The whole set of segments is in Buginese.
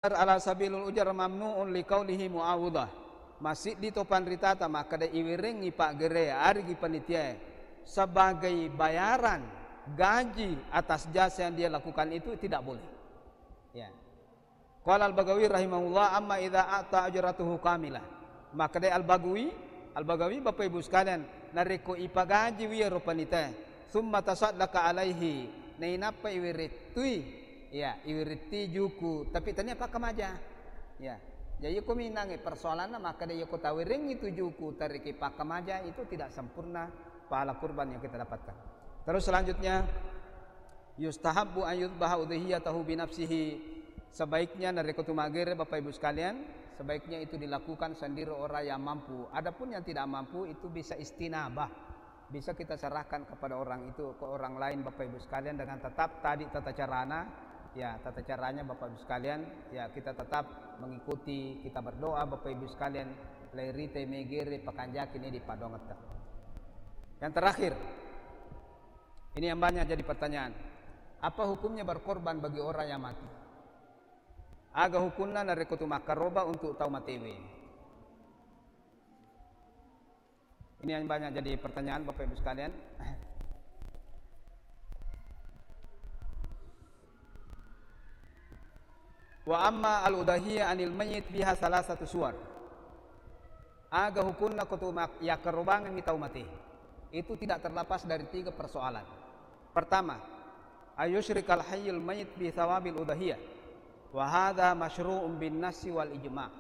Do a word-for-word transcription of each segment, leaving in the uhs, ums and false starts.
Ala sabilil ujar mamnu'un liqaulihi mu'awwadhah. Masiddi to panritata makkeda iwerengngi paggere arigi panitiae sebagai bayaran gaji atas jasa yang dia lakukan itu tidak boleh. Ya. Qala Al-Baghawi rahimahullah, "Amma idza a'ta ajratuhu kamilah." Makkeda Al-Baghawi, Al-Baghawi, Bapak Ibu sekalian, narekko ipagaji wi ero panitae, "Tsumma tasaddaqa alaihi," nainappa iwerettui, ya, iweretti juku, tapi tania pakkamaja. Ya. Jadi iko minangnge persoalanna makkeda iko tawerengngi tu juku tariki pakkamaja, itu tidak sempurna pahala kurban yang kita dapatkan. Terus selanjutnya, yustahabbu an yudhbaha udhiyatahu binafsihi. Sebaiknya narekko tu maggere, Bapak Ibu sekalian, sebaiknya itu dilakukan sendiri orang yang mampu. Adapun yang tidak mampu itu bisa istinabah. Bisa kita serahkan kepada orang itu, ke orang lain, Bapak Ibu sekalian, dengan tetap tadi tata carana, ya, tata caranya Bapak Ibu sekalian, ya, kita tetap mengikuti, kita berdoa Bapak Ibu sekalian, lairite megere pakanjaki ni di padongetta. Yang terakhir, ini yang banyak jadi pertanyaan. Apa hukumnya berkorban bagi orang yang mati? Aga hukunna narekko tu makkaroba untuk tau matewe? Ini yang banyak jadi pertanyaan Bapak Ibu sekalian. Wa amma al-udhiyah anil mayyit fiha salasatu suwar. Aga hukunna ko tu mak-, yakkarobangengngi tau mate. Itu tidak terlepas dari tiga persoalan. Pertama, ayusyrikal hayyul mayyit bi thawabil udhiyah. Wa hadha masyru'un bin nassi wal ijma'.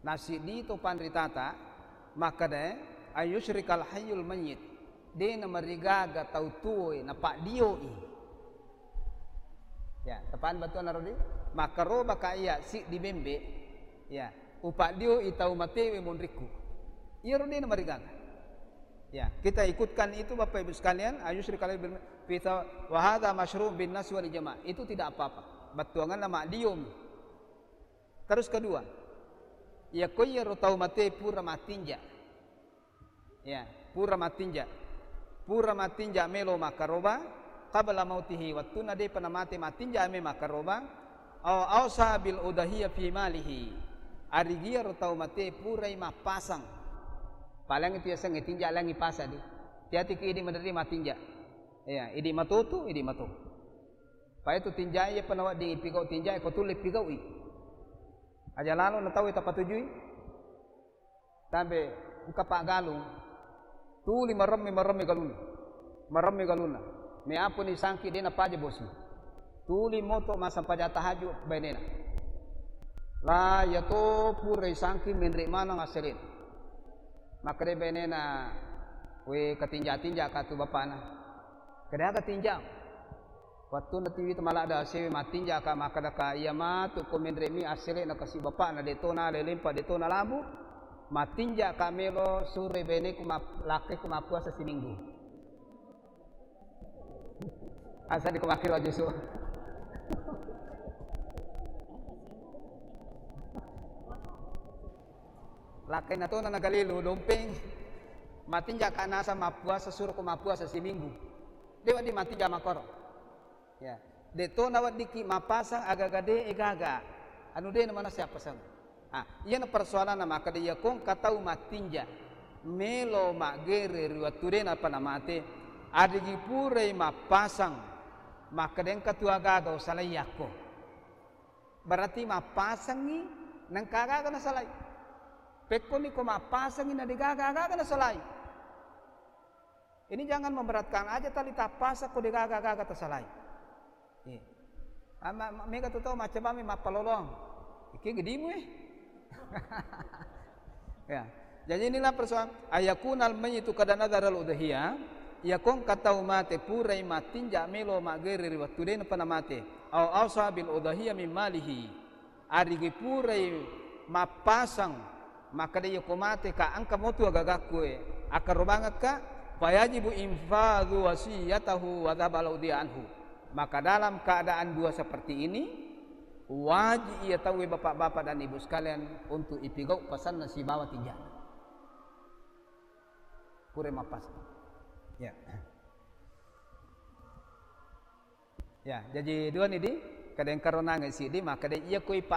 Nasiddi to panritata makkeda, ayusyrikal hayyul mayyit, de namarigaga tau tuoe napaddioi. Ya, tepan batuanna rodi, makkaroba ka iya siddi bembe, ya, upaddioi tau matewe monrikku. Iyaro de namarigaga. Ya, kita ikutkan itu Bapak Ibu sekalian, ayusyrikal bil fitha wa hadha masyru' bin nas wal ijma'. Itu tidak apa-apa. Battuanganna maddiom. Terus kedua, yakko iyaro tau mate pura matinja. Ya, pura matinja. Pura matinja melo makkaroba, qabla mautihi, wettunna depa namate matinja me makkaroba, au ausa bil udhiyah fi malihi. Arigiaro tau mate purai mappasang. Paling itu yasengnge tinja langi pasa di. Tiatiki idi maderri matinja. Ya, idi matotu, idi matotu. Pai tu tinjai, iyapa nawedding ipigau tinjai, ko tulle pigau'i. Aja lalo na tau tapatujui. Tambe engka paggalung. Tuli maremme, maremme galunna. Maremme galunna. Meapuni sangki de napaja bosi. Tuli moto massempajang tahajud bainena. La yato purai sangki menre maneng assele. Makkeda bainena, "We, katinja-tinja ka tu bapana." "Keda aga tinja?" Wettunna tiwi tu maladde asewe, matinja ka, makkeda ka, "Iya matu ko menre mi assele na kasi bapana, de to nalai lempa, de to nalabu, matinja ka melo suroi baineku map-, lakkeku mappuasa siminggu." Asa di ko makkiro jusu. Lakkainna tona nagalilu dompeng, matinja ka nasa mappuasa, suro ko mappuasa siminggu. De wedding matinja makkoro. Ya, de to naweddikki mappasang agaga de gaga. Anu de na manessa appasang. Ah, iyana persoalanna makkeda iya ko engka tau matinja melo maggere ri wettu de napa namate, adigi purai mappasang, makkeda engka tu agaga usalai yakko. Berarti mappasangngi nengka agaga nasalai. Pekkoni ko mappasangngi na de gaga agaga nasalai. Ini jangan memberatkan, aja tali tappasang ko de gaga-gaga tasalai. Iya. Amma, ma-, mega tu tau macca bami mappalolong. Iki gedimu, eh. Ya. Jadi inilah persoalan, ayakunal mayyitu qad nadharal udhiyah, iya ko engka tau mate purai matinja melo maggere ri wettu de napa namate. Au ausa bil udhiyah min malihi. Arigi purai mappasang, makkeda, "Iya ko mate ka, engka motu agagakku e, akkarobangekka," fayajibu infadhu wasiyatahu wa dhabal udhiyah anhu. Maka dalam keadaan dua seperti ini, wajib iya tauwe bapak-bapak dan ibu sekalian untuk ipigau pasanna sibawa tinjana. Purai mappasang. Ya. Ya, jaji dua ni di, Kadang karonangnge siddi, makkeda iya koi pa